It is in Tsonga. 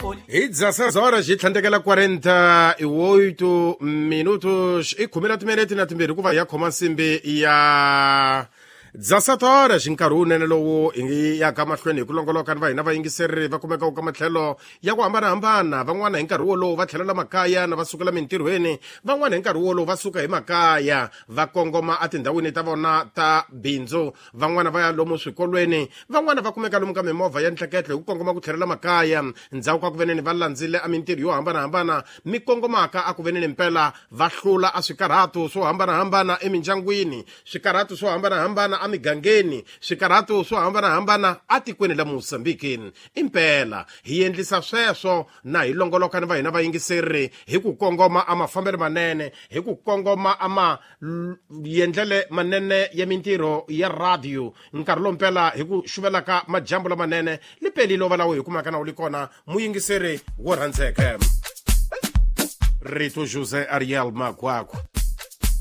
Hi 16 horas hi tlhandlekela 48 minutos, i khume na timinete na timbirhi ku va ya khoma nsimbi ya 17 horas. Nkarhi wunene lowu hi yaka mahlweni hi ku longoloka ni va hina vayingiseri va kumeka ka matlhelo ya ku hambanahambana. Van'wana hi nkarhi wolowo va tlhelela makaya na va sukela mintirhweni, van'wana hi nkarhi wolowo va suka hi makaya va kongoma etindhawini ta vona ta bindzu, van'wana va ya lomu swikolweni, van'wana va kumeka lomu ka mimovha ya ntleketlo hi ku kongoma ku tlhelela makaya ndzhaku ka ku veneni va landzile a mintirho yo hambanahambana mi kongomaka a ku veneni mpela va hlula a swikarhato swo hambanahambana emindyangwini, swikarhato swo hambanahambana emigangeni, swikarhato swo hambanahambana atikweni la Mosambiki. Impela hi endlisa sweswo na hi longoloka ni va hina vayingiseri hi ku kongoma a mafambelo manene, hi ku kongoma a ma yendlele manene ya mintirho ya radio. Nkarhi lowu mpela hi ku xuvelaka majambu lamanene lipelile va lawo hi kumaka na wu li kona muyingiseri wo rhandzeka. Rito José Ariel Magwaku.